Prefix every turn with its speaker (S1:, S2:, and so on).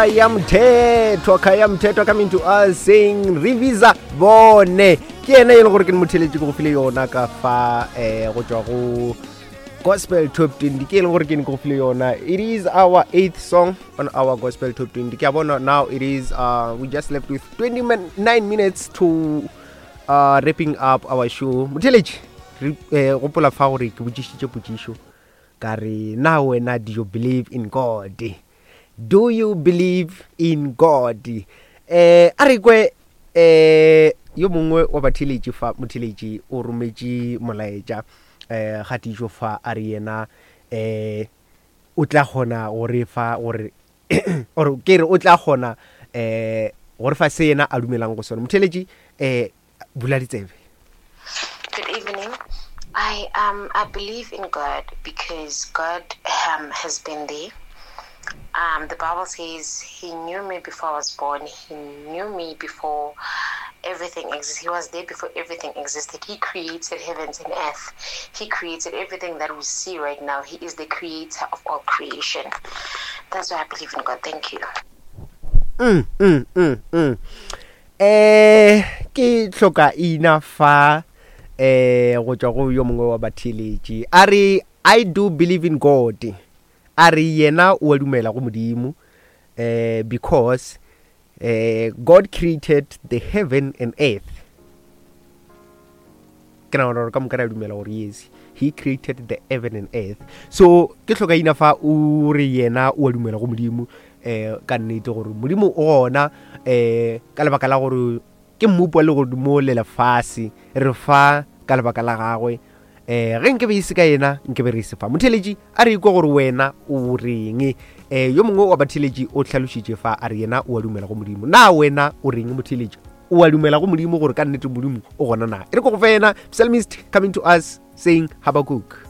S1: Khaya Mthethwa, Khaya Mthethwa coming to us saying Revisa Bone. Ke yena e leng gore ke motheletše ke go file yona ka fa eh go tšwa go Gospel Top 20 ke e leng gore ke ne ke go file yona. It is our eighth song on our Gospel Top 20. Ke a bona now it is uh, we just left with 29 minutes to uh, wrapping up our show. Motheletše re eh, gopola fa gore ke botšišitše potšišo ka re na wena do you believe in god do you believe in god eh a re kwe eh yo mongwe wa batheletši fa motheletši o rometše molaetša eh kgatišo fa a re yena eh o tla kgona go re fa gore or ke re o tla kgona eh go re fa se yena a dumelang go sona motheletši eh bula ditsebe
S2: Good evening. I um I believe in God because God um, has been there. Um, the Bible says He knew me before I was born. He knew me before everything existed. He was there before everything existed. He created heavens and earth. He created everything that we see right now. He is the creator of all creation. That's why I believe in God. Thank you.
S1: Mm, mm, mm, mm. Eh ke hloka ina fa eh go tšwa go yo mongwe wa batheeletši a re I do believe in God a re yena o a dumela go modimo eh because eh God created the heaven and earth ke nagana gore ka moka re a dumela gore yes he created the heaven and earth so ke hloka ina fa o re yena o a dumela go modimo um ka nnete gore modimo o gona um ka lebaka la gore ke mmopi wa legodimo le lefase re fa ka lebaka la gagwe um ge nke be e se ka yena nke be re se fa motheletši a re ikwe gore wena o reng um yo mongwe wa batheletši o hlalošitše fa a re yena o a dumela go modimo na wena o reng motheletši o a dumela go modimo gore ka nnete modimo o gona na e re ko go fe yena psalmist coming to us saying habakuk.